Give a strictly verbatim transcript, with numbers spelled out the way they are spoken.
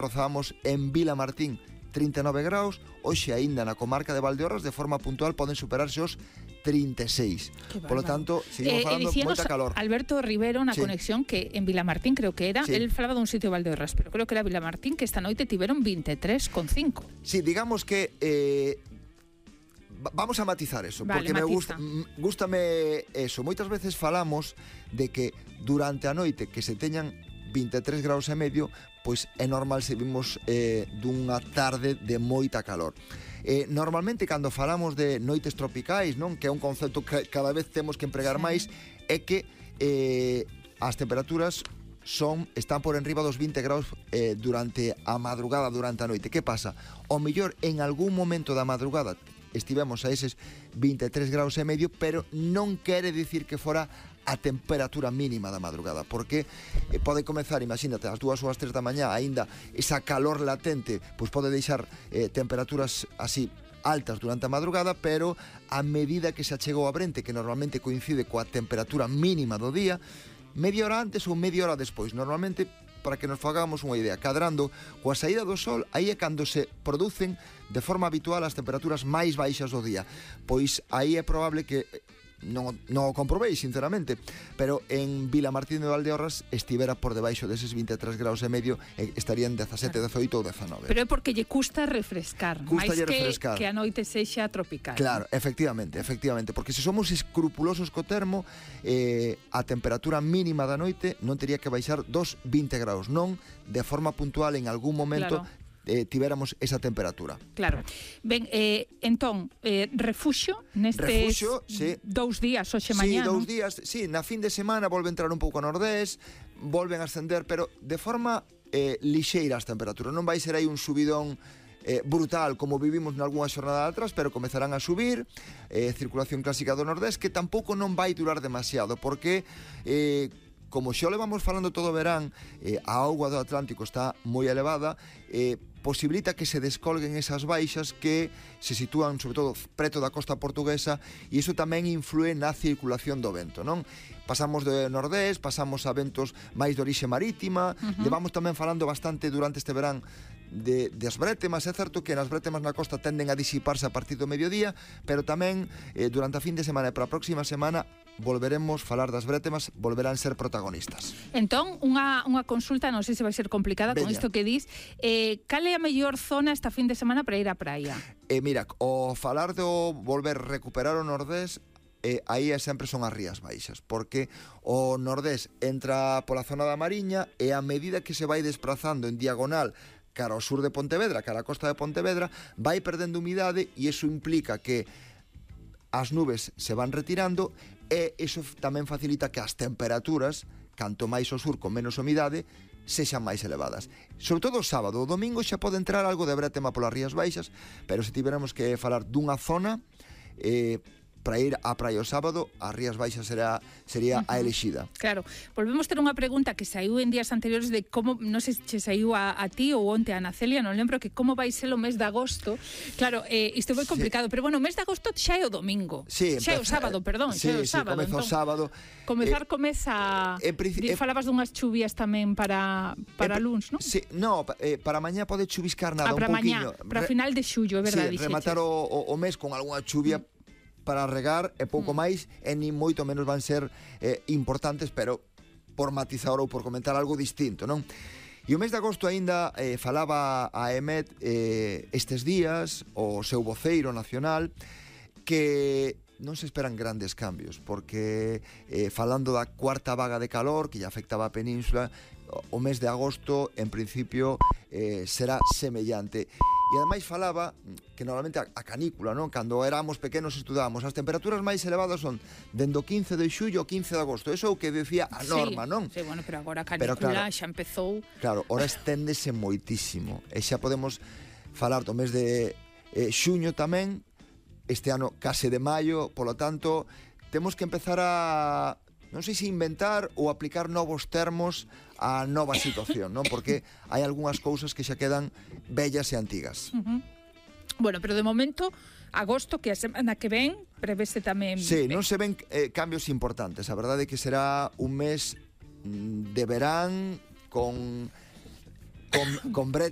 rozamos en Vilamartín trinta e nove graus, hoxe aínda na comarca de Valdeorras de forma puntual poden superarse os trinta e seis. Polo tanto, seguimos eh, falando moita calor. Alberto Rivero na sí. conexión que en Vilamartín creo que era, sí. el falaba dun sitio de Valdeorras, pero creo que era Vilamartín, que esta noite tiveron vinte e tres coma cinco. Sí, digamos que eh, vamos a matizar eso, vale, porque matiza. me gusta gústame eso. Moitas veces falamos de que durante a noite que se teñan vinte e tres graus e medio, pois é normal se vimos eh, dunha tarde de moita calor. Eh, normalmente cando falamos de noites tropicais, non, que é un concepto que cada vez temos que empregar sí. máis, é que eh, as temperaturas son están por enriba dos vinte graus eh, durante a madrugada, durante a noite. Que pasa? O mellor en algún momento da madrugada estivemos a eses vinte e tres graus e medio, pero non quere dicir que fora a temperatura mínima da madrugada, porque eh, pode comezar, imagínate, ás dúas ou ás tres da mañá, aínda esa calor latente, pois pode deixar eh, temperaturas así altas durante a madrugada, pero a medida que se achegou a brente, que normalmente coincide coa temperatura mínima do día, media hora antes ou media hora despois, normalmente, para que nos fagamos unha idea, cadrando coa saída do sol, aí é cando se producen de forma habitual as temperaturas máis baixas do día. Pois aí é probable que non, non o comprobei, sinceramente, pero en Vilamartín de Valdeorras estivera por debaixo deses vinte e tres graus e medio, e estarían dezasete, dezoito ou dezanove. Pero é porque lle custa refrescar, máis que, refrescar. que a noite sexa tropical. Claro, ¿no? efectivamente, efectivamente, porque se somos escrupulosos co termo, eh, a temperatura mínima da noite non teria que baixar dos vinte graus, non de forma puntual en algún momento. Claro. Eh, tivéramos esa temperatura. Claro. Ben, eh, entón, eh, refuxio nestes refuxio, sí. dous días, hoxe mañá, Sí, dous non? días, sí, na fin de semana volve a entrar un pouco a nordés, volven a ascender, pero de forma eh, lixeira as temperaturas. Non vai ser aí un subidón eh, brutal como vivimos nalgúna xornada atrás, pero comezarán a subir, eh, circulación clásica do nordés, que tampouco non vai durar demasiado, porque eh, como xa levamos falando todo o verán, eh, a auga do Atlántico está moi elevada, eh, posibilita que se descolguen esas baixas que se sitúan sobre todo preto da costa portuguesa, e iso tamén influe na circulación do vento, non? Pasamos de nordés, pasamos a ventos máis de orixe marítima, uh-huh. levamos tamén falando bastante durante este verán de, de as brétemas. É certo que nas brétemas na costa tenden a disiparse a partir do mediodía, pero tamén eh, durante a fin de semana e para a próxima semana volveremos falar das brétemas, volverán ser protagonistas. Entón, unha, unha consulta, non sei se vai ser complicada Veña. con isto que dis, eh, cal é a mellor zona esta fin de semana para ir á praia? Eh, mira, o falar do volver recuperar o nordés, eh, aí sempre son as rías baixas, porque o nordés entra pola zona da Mariña e a medida que se vai desplazando en diagonal cara ao sur de Pontevedra, cara á costa de Pontevedra, vai perdendo humidade, e iso implica que as nubes se van retirando, e iso tamén facilita que as temperaturas, canto máis ao sur con menos humidade, sexan máis elevadas. Sobre todo o sábado. O domingo xa pode entrar algo de brétema polas rías baixas, pero se tiveramos que falar dunha zona, eh, para ir á praia o sábado, as rías baixas será, sería uh-huh. a elixida. Claro, volvemos ter unha pregunta que saiu en días anteriores de como, non sei se saiu a, a ti ou onte a Ana Celia, non lembro, que como vai ser o mes de agosto. Claro, eh, isto foi complicado, sí. pero bueno, o mes de agosto xa é o domingo. Sí, xa é o sábado, perdón, sí, xa é o sábado. Sí, comeza o sábado. Comezar eh, comeza... Eh, eh, falabas dunhas chuvias tamén para, para eh, luns, non? Sí, no, eh, para mañá pode chuviscar nada, ah, un pouquiño. Para final de xullo, é verdade. Sí, rematar o, o, o mes con algunha chuvia mm. para regar e pouco mm. máis, e nin moito menos van ser eh, importantes, pero por matizar ou por comentar algo distinto, non? E o mes de agosto aínda eh, falaba a E M E T eh, estes días, o seu voceiro nacional, que non se esperan grandes cambios, porque eh, falando da cuarta vaga de calor que ya afectaba a península, o mes de agosto en principio eh, será semellante. E ademais falaba que normalmente a, a canícula, non? Cando éramos pequenos estudábamos, as temperaturas máis elevadas son dende o quince de xullo ao quince de agosto. Eso é o que decía a norma, sí, non? Sí, bueno, pero agora a canícula pero, claro, xa empezou. Claro, ora esténdese moitísimo. E xa podemos falar do mes de eh, xuño tamén, este ano case de maio, polo tanto, temos que empezar a... non sei se inventar ou aplicar novos termos á nova situación, non? Porque hai algunhas cousas que xa quedan vellas e antigas. Uh-huh. Bueno, pero de momento, agosto, que a semana que ven, prevese tamén... Sí, non se ven eh, cambios importantes. A verdade é que será un mes de verán con... con, con bret,